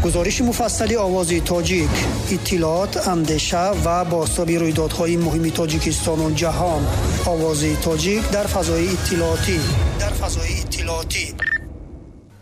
Гузориши муфассали Овози Тоҷик, иттилоот, андеша ва бозтоби рӯйдодҳои муҳими Тоҷикистону ҷаҳон. Овози Тоҷик дар фазои иттилоотӣ. Дар фазои иттилоотӣ.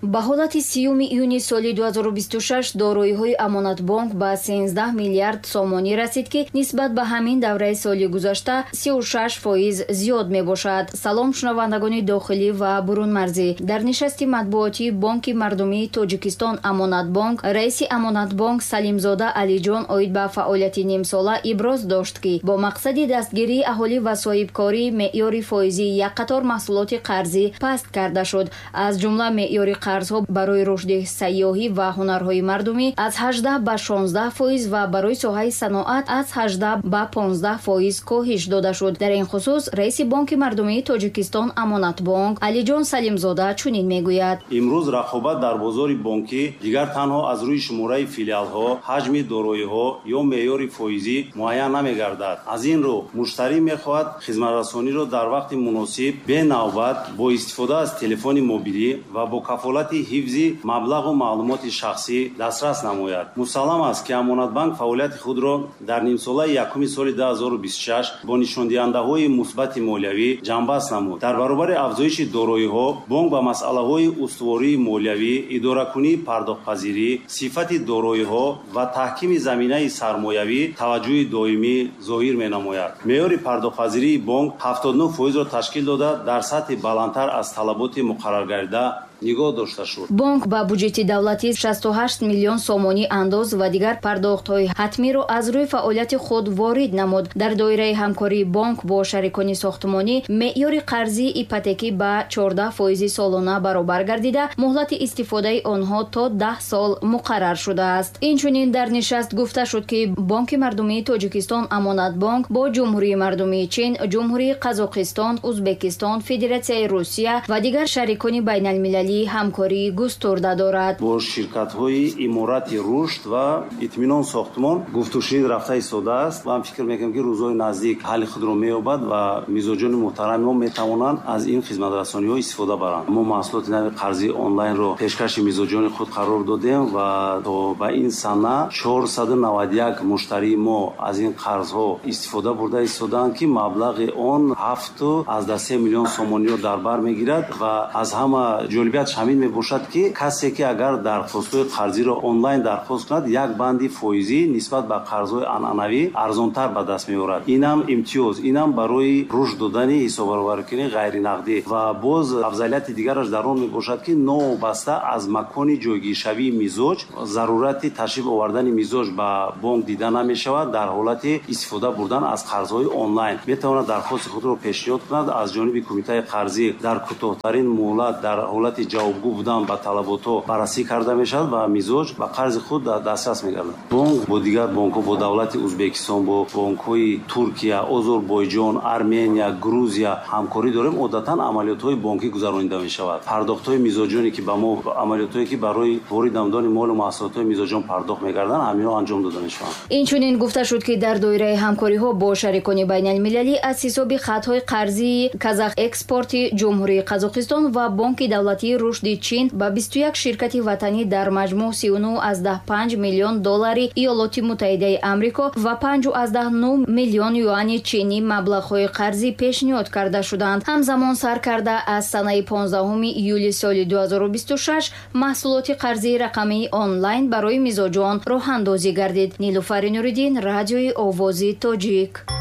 Ба ҳолати 30 июни соли 2026 дороиҳои Амонатбонк ба 13 миллиард сомонӣ расид, ки нисбат ба ҳамин давраи соли гузашта 36% зиёд мебошад. Салом, шунавандагони дохилӣ ва бурунмарзӣ. Дар нишасти матбуотии Бонки мардумии Тоҷикистон Амонатбонк раиси Амонатбонк Салимзода Алиҷон оид ба фаъолияти нимсола иброз дошт, ки бо мақсади дастгирии аҳолӣ ва соҳибкорӣ меъёри фоизии як қатор маҳсулоти қарзӣ паст карда шуд. Аз ҷумла меъёри қарзҳо барои рушди сайёҳӣ ва ҳунарҳои мардумӣ аз 18 ба 16% ва барои соҳаи саноат аз 18 ба 15% коҳиш дода шуд. Дар ин хусус раиси Бонки мардумии Тоҷикистон Амонатбонк Алиҷон Салимзода чунин мегӯяд: Имрӯз рақобат дар бозори бонкӣ дигар танҳо аз рӯи шумораи филиалҳо, ҳаҷми дороиҳо ё меъёри фоизӣ муайян намегардад. Аз ин рӯ муштарӣ мехоҳад хизматрасониро дар вақти муносиб, бенавбат, бо истифода аз телефони мобилӣ ва бо кафолати ҳифзи маблағу маълумоти шахсӣ дастрас намояд. Мусаллам аст, ки Амонатбанк фаъолияти худро дар нимсолаи якуми соли 2026 бо нишондиҳандаҳои мусбати молиявӣ ҷамъбаст намуд. Дар баробари афзоиши дороиҳо бонк ба масъалаҳои устувории молиявӣ, идоракунии пардохтпазирӣ, сифати дороиҳо ва таҳкими заминаи сармоявӣ таваҷҷӯҳи доимӣ зоҳир менамояд. Меъёри пардохтпазирии бонк 79%-ро ташкил дода, дар сатҳи баландтар аз талаботи муқарраргардида нигоҳ дошта шуд. Бонк ба буҷети давлатӣ 68 миллион сомонӣ андоз ва дигар пардохтҳои ҳатмиро аз рӯи фаъолияти худ ворид намуд. Дар доираи ҳамкории бонк бо шарикони сохтмонӣ меъёри қарзии ипотекӣ ба 14% солона баробар гардида, муҳлати истифодаи онҳо то 10 сол муқаррар шудааст. Инчунин дар нишаст гуфта шуд, ки Бонки мардумии Тоҷикистон Амонатбонк бо Ҷумҳурии мардумии Чин, Ҷумҳурии Қазоқистон, Узбекистон, Федератсияи Русия ва дигар шарикони байналмилалӣ ҳамкории густурда дорад. Бо ширкатҳои Иморати рушд ва Итминон сохтмон гуфтушунид рафта истодааст ва фикр мекунем, ки рӯзҳои наздик ҳалли худро меёбад ва мизоҷони муҳтарами мо метавонанд аз ин хизматрасониҳо истифода баранд. Мо маҳсулоти нави қарзии онлайнро пешкаши мизоҷони худ қарор додем ва то ба ин сана 491 муштарии мо аз ин қарзҳо истифода бурда истодаанд, ки маблағи он 7,3 миллион сомониро дар бар мегирад. Ва аз ҳама ҷолибият ҳамин мебошад, ки касе ки агар дархостҳои қарзиро онлайн дархост кунад, як банди фоизӣ нисбат ба қарзҳои анъанавӣ арзонтар ба даст меорад. Инам имтиёз, инам барои рушд додани ҳисоббаробаркунии ғайринақдӣ. Ва боз афзалияти дигараш дар он мебошад, ки новобаста аз макони ҷойгиршавии мизоҷ зарурати ташриф овардани мизоҷ ба бонк дида намешавад. Дар ҳолати истифода бурдан аз қарзҳои онлайн метавонад дархости худро пешниҳод кунад. Аз ҷониби кумитаи қарзӣ дар кӯтоҳтарин муҳлат дар ҳолати ҷавобгӯ будан ба талаботҳо баррасӣ карда мешавад ва мизоҷ ба қарзи худ дастрас мегардад. Бонк бо дигар бонкҳо, бо давлати Узбекистон, бо бонкҳои Туркия, Озарбойҷон, Армения, Грузия ҳамкорӣ дорем. Одатан амалиётҳои бонкӣ гузаронида мешавад. Пардохтҳои мизоҷоне ки ба мо, амалиётҳое ки барои ворид намудани молу маҳсулотҳои мизоҷон пардохт мегарданд, ҳаминҳо анҷом дода мешаванд. Инчунин гуфта шуд, ки дар доираи ҳамкориҳо бо шарикони байналмилалӣ аз ҳисоби хатҳои қарзии Казах экспорти Ҷумҳурии Қазоқистон ва Бонки давлатии рушди Чин ба 21 ширкати ватанӣ дар маҷмӯъ 39,5 миллион доллари Иёлоти Муттаҳидаи Амрико ва 5,9 миллион юани чинӣ маблағҳои қарзӣ пешниҳод карда шуданд. Ҳамзамон сар карда аз санаи 15 июли соли 2026 маҳсулоти қарзии рақамии онлайн барои мизоҷон роҳандозӣ гардид. Нилуфари Нуриддин, Радиои Овози Тоҷик.